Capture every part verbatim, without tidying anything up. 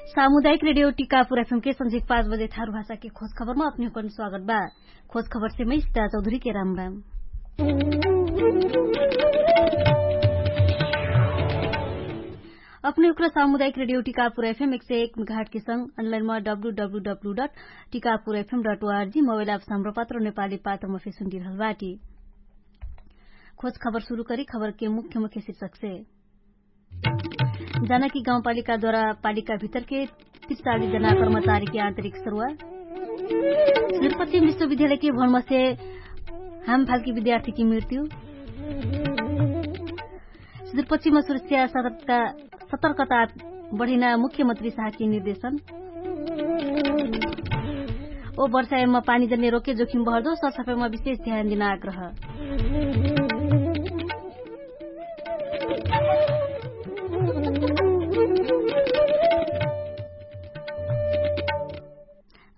सामुदायिक रेडियो टिकापुर एफएम के संझिक पाँच बजे थारु भाषा के खोज खबर मा अपने हुकन स्वागत बा। खोज खबर से मै स्थिता चौधरी के राम राम। अपने हुकन सामुदायिक रेडियो टिकापुर एफएम एक सय एक घाट के संग अनलाइन मा W W W dot Tikapur FM dot ORG mobile app साम्रोपात्र नेपाली पात्र मा फेसुन दिरहल बाटी। खोज खबर सुरु करी खबर के मुख्य मुख्य शीर्षक से। जानकी गाउँपालिकाद्वारा पालिका भितरके तिरचाली जना कर्मचारीके आन्तरिक सरुवा। सुदूरपश्चिम विश्वविद्यालयके भवनमसे हाम फालकी विद्यार्थीके मृत्यु। सुदूरपश्चिम सुरक्षा सतर्कता बढैना मुख्यमन्त्री साहके निर्देशन। ओ वर्षायम पानी जन्ने रोके जोखिम बहर्दो सरसफाइमा विशेष ध्यान दिना आग्रह।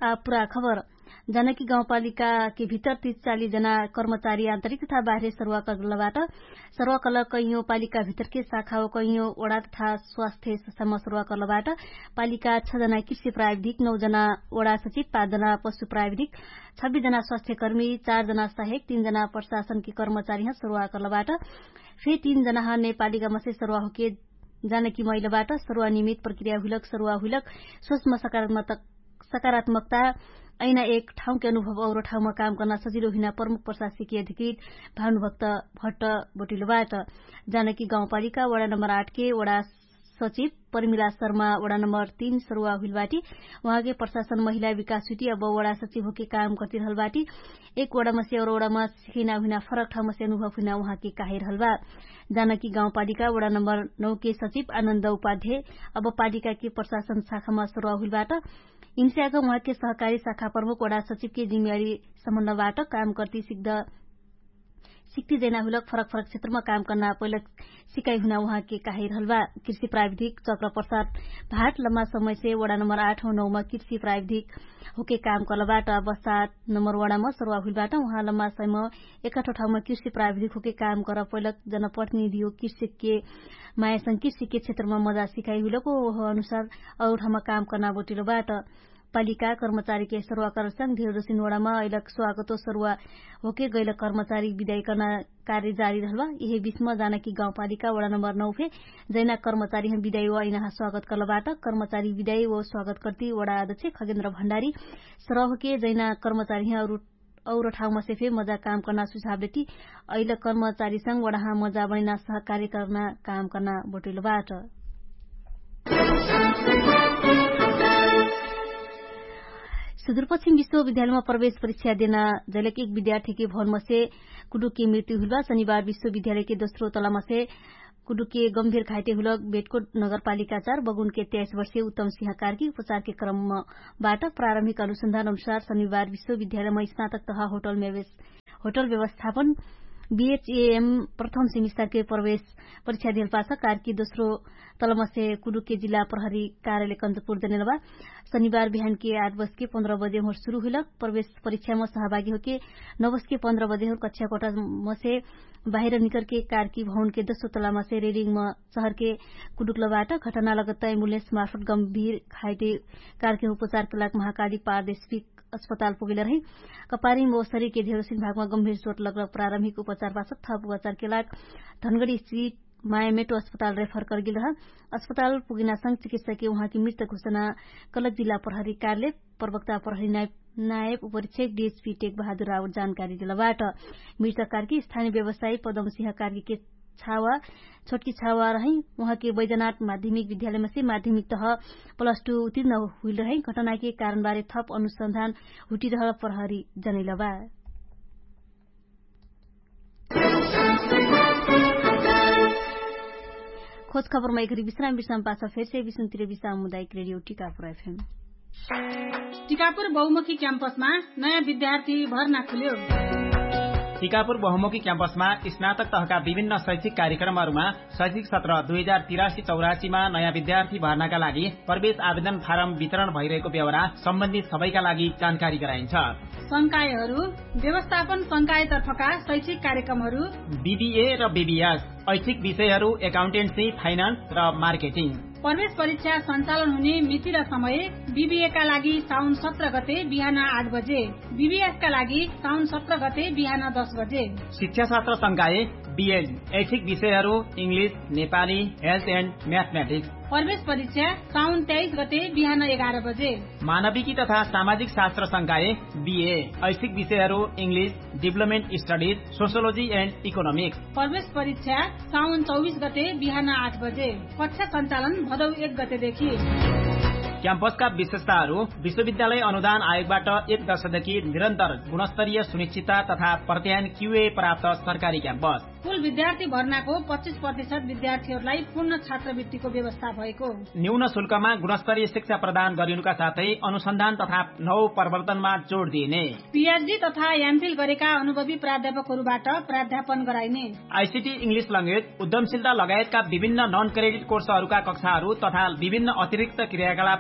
आ पुरा खबर। जानकी गाउँपालिकाके भितर तिरचाली जना कर्मचारी आन्तरिक तथा बाहिर सरुवा कर्लबाट। सरुवा कल कैयो पालिका भितरके शाखा ओ कैयो ओडा तथा स्वास्थ्य समा सरुवा कर्लबाट। पालिका छ जना कृषि प्राविधिक नौ जना ओडा सचिव पाँच जना पशु प्राविधिक छब्बिस जना स्वास्थ्यकर्मी चार जना सहायक तीन जना प्रशासनके कर्मचारीह सरुवा कर्लबाट। फे तीन जनाह नेपालीका मसे सरुवा होके जानकी मैलबाट सरुवा निमित प्रक्रिया हुइलक सरुवा हुइलक सोचमा सकारात्मक सकारात्मकता ऐना एक ठाउँके अनुभव और ठाउँमा काम कर्ना सजिलो हुइना प्रमुख प्रशासकीय अधिकृत भानुभक्त भट्ट बोटिलबाट। जानकी गाउँपालिका वडा नम्बर आठ के वडा सचिव परिमिला शर्मा वडा नम्बर तीन सरुवा हुइलबाटी। उहाँके प्रशासन महिला विकास हुइटी अब वडा सचिव होके काम कर्तिरहलबाटी। एक वडामा से और वडामा सिखैना हुइना फरक ठाउँमा से अनुभव हुइना उहाँके काहिरहलबा। जानकी गाउँपालिका वडा नम्बर नौ के सचिव आनन्द उपाध्याय अब पालिकाके प्रशासन शाखामा सरुवा हुइलबाट। इन्स्याक उहाँके सहकारी शाखा प्रमुख वडा सचिवके जिम्मेवारी सम्बन्धबाट काम कर्ति सिक्द सिक्ति जैना हुइलक फरक फरक क्षेत्रमा काम कर्ना पहिलक सिकाइ हुइना उहाँके काहिरहलबा। कृषि प्राविधिक चक्र प्रसाद भाट लम्बा समयसे वडा नम्बर आठ हो नौमा कृषि प्राविधिक होके काम कर्लबाट। अवस्था नम्बर वडामा सरुवा हुइलबाट उहाँ लम्बा समय एकठो ठाउँमा कृषि प्राविधिक होके काम कर पहिलक जनप्रतिनिधि हो कृषिके मायासँग कृषिके क्षेत्रमा मजा सिकाइ हुइलक हो अनुसार और ठाउँमा काम कर्ना बोटिलबाट। पालिका कर्मचारीके सरुवा कर्लसँग धेरजोसिन वडामा अइलक स्वागतो सरुवा होके गैलक कर्मचारी विदाई कर्ना कार्य जारी रहलबा। इहे बिचमा जानकी गाउँपालिका वडा नम्बर नौ फे जैना कर्मचारी हम विदाई व अइनाहा स्वागत कर्लबाट। कर्मचारी विदाई व स्वागत कर्ति वडा अध्यक्ष खगेन्द्र भण्डारी सरुवा होके जैना कर्मचारी हम और ठाउँमा से फे मजा काम कर्ना सुझाव देति अइल कर्मचारी संग वडाहा मजा बनैना सहकार्य कर्ना काम कर्ना बोटैलबाट। सुदूरपश्चिम विश्वविद्यालयमा प्रवेश परीक्षा देना जैलक एक विद्यार्थीके भवनमसे कुडुकके मृत्यु हुइलबा। शनिबार विश्वविद्यालयके दोस्रो तलामसे कुडुकके गम्भीर घाइटे हुइलक बेटको नगरपालिका चार बगुनके त्याइस वर्षे उत्तम सिंह कार्की उपचारके क्रमबाट प्रारम्भिक अनुसन्धान अनुसार शनिबार विश्वविद्यालयमा स्नातक तह होटल व्यवस्थापन बिएचएएम प्रथम सेमिस्टरके प्रवेश परीक्षा देलपाछ कार्की दोस्रो तलमसे कुडुके जिल्ला प्रहरी कार्यालय कन्चपुर जनेलबा। शनिबार बिहानके आठ बजके पन्ध्र बजे होर सुरु हुइलक प्रवेश परीक्षामा सहभागी होके नौ बजके पन्ध्र बजे होर कक्षा कोठामसे बाहिर निकरके कार्की भवनके दोस्रो तलामसे रेडिङमा चहरके कुडुकलबाट घटना लगत्त एम्बुलेन्स मार्फत गम्भीर खाइटे कार्की उपचारके लाग महाकाली पारदेशिक अस्पताल पुगेल रही। कपारिङ व शरीरके धेरोसिन भागमा गम्भीर चोट लगल प्रारम्भिक उपचारपाछ थप उपचारके लाग धनगडी स्थित मायामेटो अस्पताल रेफर करगेल रह। अस्पताल पुगेनासँग चिकित्सके उहाँके मृत घोषणा कलक जिल्ला प्रहरी कार्यालय प्रवक्ता प्रहरी नायब उपरीक्षक डिएचपी टेक बहादुर रावत जानकारी देलबाट। मृत कार्की स्थानीय व्यवसायी पदम सिंह कार्कीके छावा छोटकी छावा रहै। उहाँके बैजनाथ माध्यमिक विद्यालयमा से माध्यमिक तह प्लस टू उत्तीर्ण हुइल रहै। घटनाके कारणबारे थप अनुसन्धान हुटिरहल प्रहरी जनैलबा। खोज खबरमा एकरी विश्राम विश्राम पाछ फेरसे विश्रामतिर विश्राम मुदायक रेडियो टिकापुर एफएम। टिकापुर बहुमुखी क्याम्पसमा नयाँ विद्यार्थी भर्ना खुल्यो। टिकापुर बहुमुखी क्याम्पसमा स्नातक तहका विभिन्न शैक्षिक कार्यक्रमहरूमा शैक्षिक सत्र दुई हजार तिरासी चौरासीमा नयाँ विद्यार्थी भर्नाका लागि प्रवेश आवेदन फारम वितरण भइरहेको बेहोरा सम्बन्धित सबैका लागि जानकारी गराइन्छ। संकायहरू व्यवस्थापन संकायतर्फका शैक्षिक कार्यक्रमहरू बिबिए र बिबिएस ऐच्छिक विषयहरू एकाउन्टेन्सी फाइनान्स र मार्केटिङ। प्रवेश परीक्षा सञ्चालन हुने मिति र समय बिबिएका लागि साउन सत्र गते बिहान आठ बजे, बिबिएसका लागि साउन सत्र गते बिहान दस बजे। शिक्षाशास्त्र संकाय बिएड, ऐच्छिक विषयहरू, इङ्ग्लिस, नेपाली, हेल्थ एन्ड म्याथम्याटिक्स। प्रवेश परीक्षा साउन तेइस गते बिहान एघार बजे। मानविकी तथा सामाजिक शास्त्र संकाय बिए, ऐच्छिक विषयहरू, English, deployment studies, sociology end economics. प्रवेश परीक्षा साउन चौबिस गते बिहान आठ बजे। कक्षा सञ्चालन भदौ एक गतेदेखि। क्याम्पसका विशेषताहरू, विश्वविद्यालय अनुदान आयोगबाट एक दर्शकदेखि निरन्तर गुणस्तरीय सुनिश्चितता तथा प्रत्यायन क्युए प्राप्त सरकारी क्याम्पस। कुल विद्यार्थी भर्नाको पच्चिस प्रतिशत विद्यार्थीहरूलाई पूर्ण छात्रवृत्तिको व्यवस्था भएको। न्यून शुल्कमा गुणस्तरीय शिक्षा प्रदान गरिनुका साथै अनुसन्धान तथा नौ प्रवर्तनमा जोड दिइने। पिएचडी तथा एमफिल गरेका अनुभवी प्राध्यापकहरूबाट प्राध्यापन गराइने। आइसिटी इङ्ग्लिस लङ्गेज उद्यमशीलता लगायतका विभिन्न नन क्रेडिट कोर्सहरूका कक्षाहरू तथा विभिन्न अतिरिक्त क्रियाकलाप।